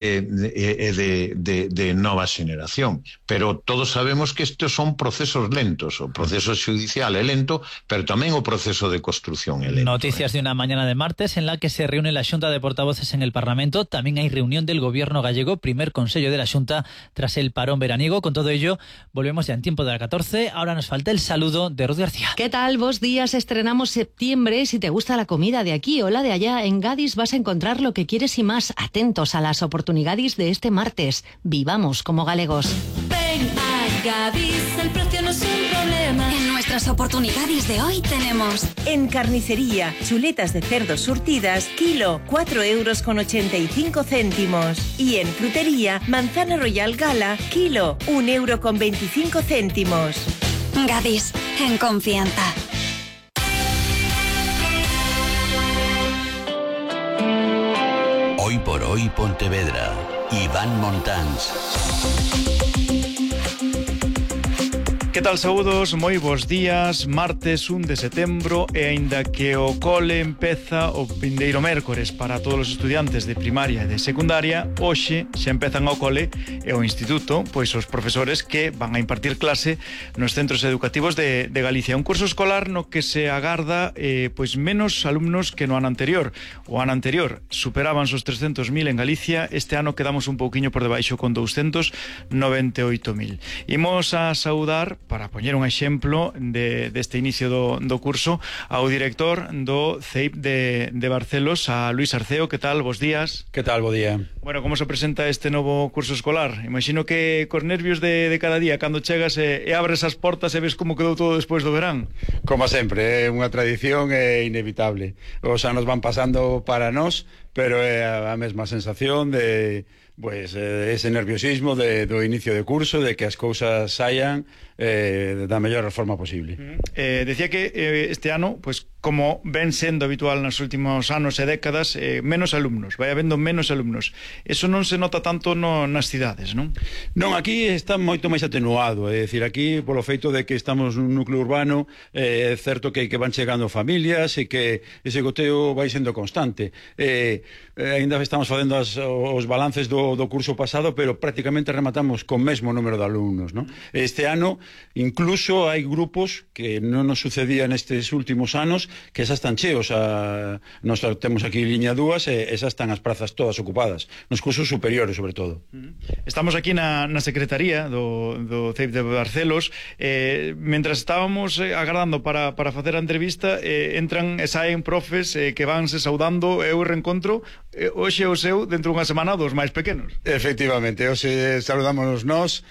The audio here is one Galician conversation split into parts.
de nova xeración. Pero todos sabemos que estes son procesos lentos. O proceso judicial é lento, pero tamén o proceso de construcción é lento. Noticias de una mañana de martes en la que se reúne la Xunta de Portavoces en el Parlamento. También hay reunión del Gobierno gallego, primer Consello de la Xunta tras el parón veraniego. Con todo ello, volvemos ya en tiempo de la 14. Ahora nos falta el saludo de Ruth García. ¿Qué tal? Buenos días. Estrenamos septiembre. Si te gusta la comida de aquí o la de allá, en Gadis vas a encontrar lo que quieres y más. Atentos a las oportunidades de este martes. Vivamos como galegos. Ven a Gadis, el precio no es un problema. En nuestras oportunidades de hoy tenemos: en carnicería, chuletas de cerdo surtidas, kilo, 4,85 €. Y en frutería, manzana royal gala, kilo, 1,25 €. Gadis, en confianza. Hoy por hoy Pontevedra. Iván Montans. Que tal, saúdos, moi bons días. Martes 1 de setembro e aínda que o cole empeza o vindeiro mércores para todos os estudiantes de primaria e de secundaria, hoxe xa empezan ao cole e ao instituto, pois os profesores que van a impartir clase nos centros educativos de Galicia. Un curso escolar no que se agarda pois menos alumnos que no ano anterior. O ano anterior superaban os 300.000 en Galicia, este ano quedamos un pouquiño por debaixo con 298.000. Imos a saudar, para poñer un exemplo deste inicio do curso, ao director do CEIP de Barcelos, a Luís Arceo. Que tal? Bos días. Que tal? Bo día. Bueno, como se presenta este novo curso escolar? Imagino que cos nervios de cada día, cando chegas e abres as portas e ves como quedou todo despois do verán. Como sempre, é unha tradición inevitable. Os anos van pasando para nós, pero é a mesma sensación de ese nerviosismo do inicio de curso, de que as cousas saian da mellor forma posible. Decía que este ano, pues, como ven sendo habitual nos últimos anos e décadas, menos alumnos, vai habendo menos alumnos. Eso non se nota tanto nas cidades, non? Non, aquí está moito máis atenuado, é dicir, aquí polo feito de que estamos nun núcleo urbano, é certo que van chegando familias e que ese goteo vai sendo constante. Ainda estamos facendo os balances do curso pasado, pero prácticamente rematamos con mesmo número de alumnos, non? Este ano incluso hai grupos que non nos sucedía nestes últimos anos, que xa están cheos. Nos temos aquí liña 2 e xa están as prazas todas ocupadas, nos cursos superiores sobre todo. Estamos aquí na secretaría do CEIP de Barcelos. Mentras estábamos agardando para facer a entrevista, entran e saen profes que vanse saudando. Eu reencontro hoxe o seu dentro dunha semana dos máis pequenos. Efectivamente, hoxe saludamos nós.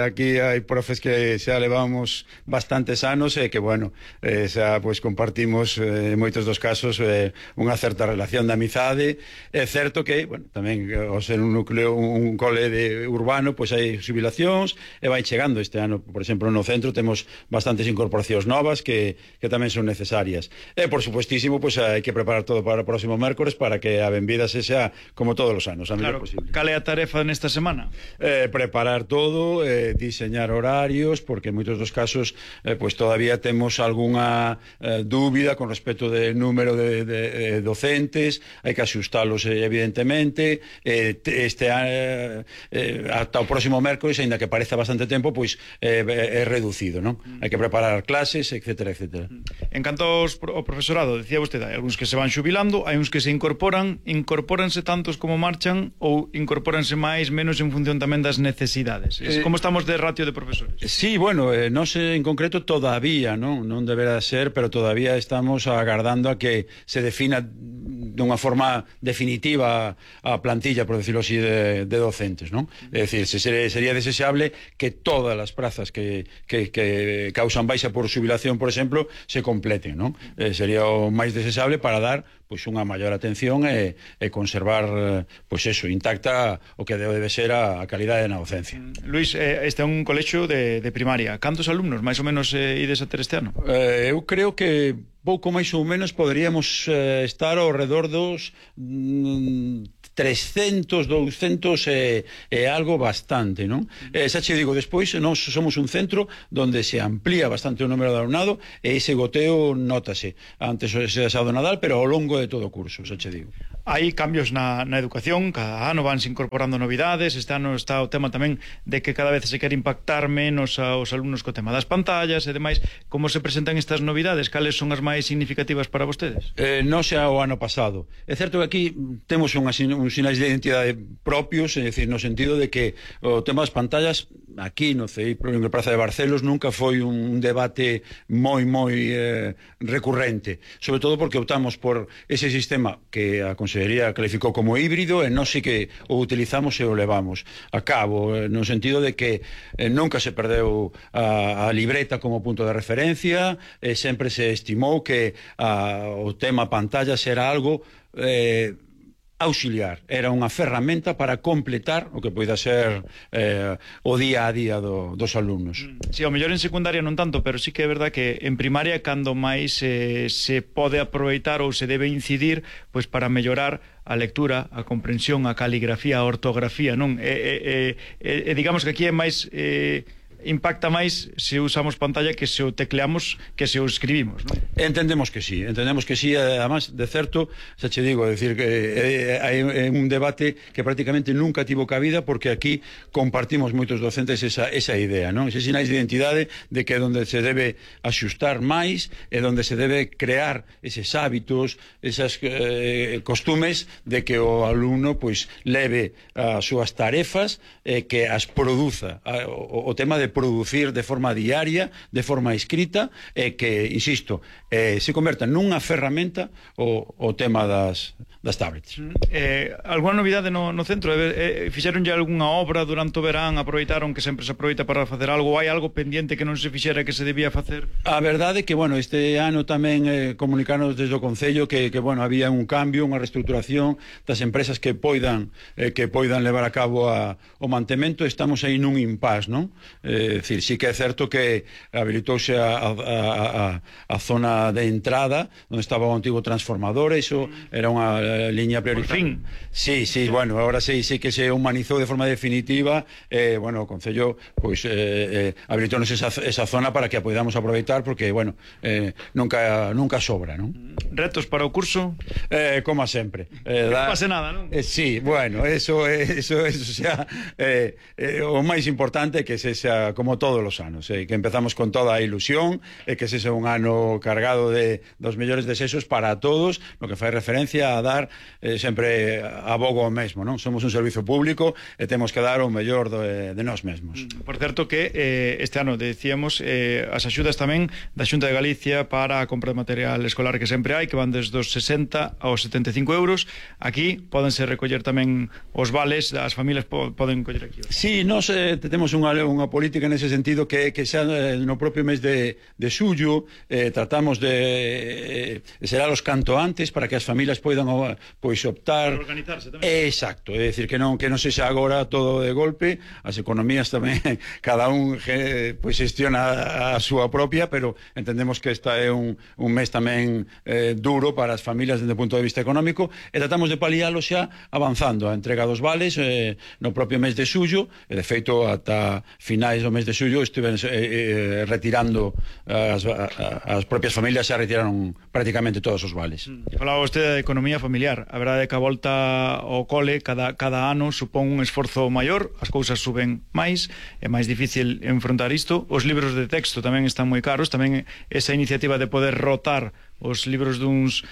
Aquí hai profes que xa levamos bastantes anos e que, bueno, xa pois compartimos en moitos dos casos unha certa relación de amizade. É certo que, bueno, tamén ao ser un núcleo, un cole urbano, pois hai xubilacións e vai chegando. Este ano, por exemplo, no centro temos bastantes incorporacións novas que tamén son necesarias. E, por supuestísimo, pois hai que preparar todo para o próximo mércores para que a benvida se xa como todos os anos, a mellor posible. Cal é a tarefa nesta semana? Preparar todo, diseñar horarios, porque en moitos dos casos pois todavía temos algunha dúbida con respecto do número de docentes. Hai que axustalos evidentemente. Ata o próximo mércores, aínda que pareza bastante tempo, pois é reducido, non? Hai que preparar clases, etcétera, etcétera. En canto ao profesorado, decía vostede, hai algúns que se van xubilando, hai uns que se incorpóranse tantos como marchan, ou incorpóranse máis, menos en función tamén das necesidades. Como estamos de ratio de profesores? Sí, bueno, nós en concreto todavía non deberá ser, pero todavía estamos agardando a que se defina dunha forma definitiva a plantilla, por decirlo así, de docentes, non? É dicir, sería desexable que todas as prazas que causan baixa por xubilación, por exemplo, se completen, non? Sería o máis desexable para dar pois unha maior atención e conservar pois eso, intacta o que debe ser a calidade na docencia. Luís, este é un colexio de primaria. Cantos alumnos máis ou menos ides a ter este ano? Eu creo que pouco máis ou menos poderíamos estar ao redor dos 300, 200 e algo bastante, non? Xa che digo, despois nós somos un centro donde se amplía bastante o número de alumnado e ese goteo nótase antes do Nadal, pero ao longo de todo o curso, xa che digo. Hai cambios na educación, cada ano vanse incorporando novidades. Este ano está o tema tamén de que cada vez se quere impactar menos aos alumnos co tema das pantallas e demais. Como se presentan estas novidades? Cales son as máis significativas para vostedes? Non xa o ano pasado. É certo que aquí temos uns sinais de identidade propios, é dicir, no sentido de que o tema das pantallas aquí no CEI, en a Praza de Barcelos, nunca foi un debate moi recurrente, sobre todo porque optamos por ese sistema que a Consellería calificou como híbrido e non sei que o utilizamos e o levamos a cabo, no sentido de que nunca se perdeu a libreta como punto de referencia, e sempre se estimou que o tema pantallas era algo auxiliar, era unha ferramenta para completar o que poida ser o día a día dos alumnos. Si, ao mellor en secundaria non tanto, pero sí que é verdad que en primaria cando máis se pode aproveitar ou se debe incidir pois para mellorar a lectura, a comprensión, a caligrafía, a ortografía, non? Digamos que aquí é máis impacta máis se usamos pantalla que se o tecleamos, que se o escribimos, non? Entendemos que sí, además, de certo, xa che digo, decir que hai un debate que prácticamente nunca tivo cabida, porque aquí compartimos moitos docentes esa idea, non? Ese sinais de identidade de que é onde se debe axustar máis, é onde se debe crear eses hábitos, esas costumes de que o alumno pois leve as súas tarefas e que as produza, o tema de producir de forma diaria, de forma escrita, e que, insisto, se converta nunha ferramenta o tema das tablets. Alguna novidade no centro? Fixeronlle algunha obra durante o verán? Aproveitaron que sempre se aproveita para facer algo? Hai algo pendiente que non se fixera que se debía facer? A verdade é que, bueno, este ano tamén comunicaron desde o Concello que había un cambio, unha reestruturación das empresas que poidan levar a cabo o mantemento. Estamos aí nun impasse, non? Decir, sí que é certo que habilitouse a zona de entrada onde estaba o antigo transformador, eso era unha liña prioritaria. Por fin. Sí, bueno, ahora sí que se humanizou de forma definitiva, bueno, o Concello pois habilitónos esa zona para que a podamos aproveitar, porque, bueno, nunca sobra, non? Retos para o curso? Como sempre. Non pase nada, non? Sí, bueno, eso xa o máis importante é que se xa como todos os anos, que empezamos con toda a ilusión, e que ese é un ano cargado dos mellores desexos para todos, no que fai referencia a dar sempre abogo o mesmo, non? Somos un servizo público e temos que dar o mellor de nós mesmos. Por certo que este ano decíamos as axudas tamén da Xunta de Galicia para a compra de material escolar que sempre hai, que van desde os 60 aos 75 euros. Aquí pódense recoller tamén os vales, as familias poden coller aquí. Sí, nós temos unha política nese sentido que xa no propio mes de xullo tratamos de xeralos canto antes para que as familias poidan pois optar, organizarse tamén. Exacto, é dicir que non sexa agora todo de golpe. As economías tamén cada un pois xestiona a súa propia, pero entendemos que esta é un mes tamén duro para as familias desde o punto de vista económico, e tratamos de palialo xa avanzando a entrega dos vales no propio mes de xullo, e de feito ata finais do mes de xullo estiven retirando as propias familias, xa retiraron prácticamente todos os vales. Falaba vostede de economía familiar. A verdade é que a volta ao cole cada ano supón un esforzo maior, as cousas suben máis, é máis difícil enfrontar isto. Os libros de texto tamén están moi caros, tamén esa iniciativa de poder rotar os libros duns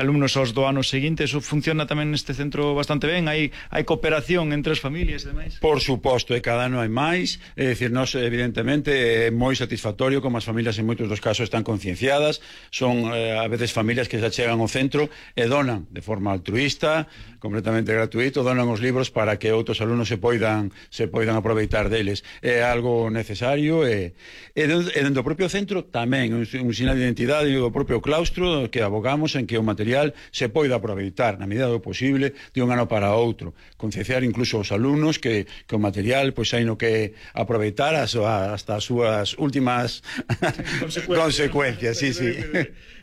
alumnos aos do ano seguinte, eso funciona tamén neste centro bastante ben? Hai cooperación entre as familias e demais? Por suposto, e cada ano hai máis, é dicir, nós evidentemente é moi satisfactorio como as familias en moitos dos casos están concienciadas, son a veces familias que se chegan ao centro e donan de forma altruista, completamente gratuito, donan os libros para que outros alumnos se poidan aproveitar deles. É algo necesario e dentro do propio centro tamén un sinal de identidade do propio claustro, que abogamos en que o material se poida aproveitar na medida do posible de un ano para outro, concienciar incluso aos alumnos que o material pois hai no que aproveitar hasta as súas últimas consecuencias. Sí.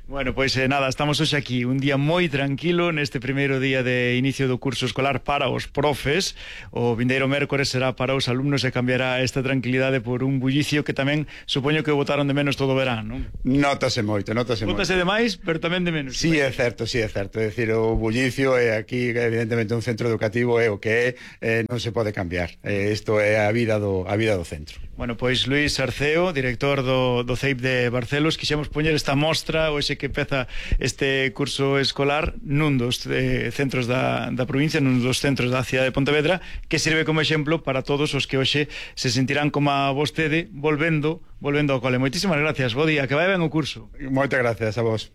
Bueno, pois nada, estamos hoxe aquí un día moi tranquilo neste primeiro día de inicio do curso escolar para os profes. O vindeiro mércores será para os alumnos e cambiará esta tranquilidade por un bullicio que tamén supoño que botaron de menos todo o verán, non? Notase moito, notase moito. Bótase de máis, pero tamén de menos. Sí, é certo, sí, é certo. É dicir, o bullicio é aquí, evidentemente, un centro educativo é o que é, non se pode cambiar. Isto é a vida do centro. Bueno, pois Luís Arceo, director do CEIP de Barcelos, quixemos poñer esta mostra hoxe que empeza este curso escolar nun dos centros da provincia, nun dos centros da cidade de Pontevedra, que sirve como exemplo para todos os que hoxe se sentirán como a vostede volvendo ao cole. Moitísimas gracias, bo día, que vai ben o curso. Moitas gracias a vos.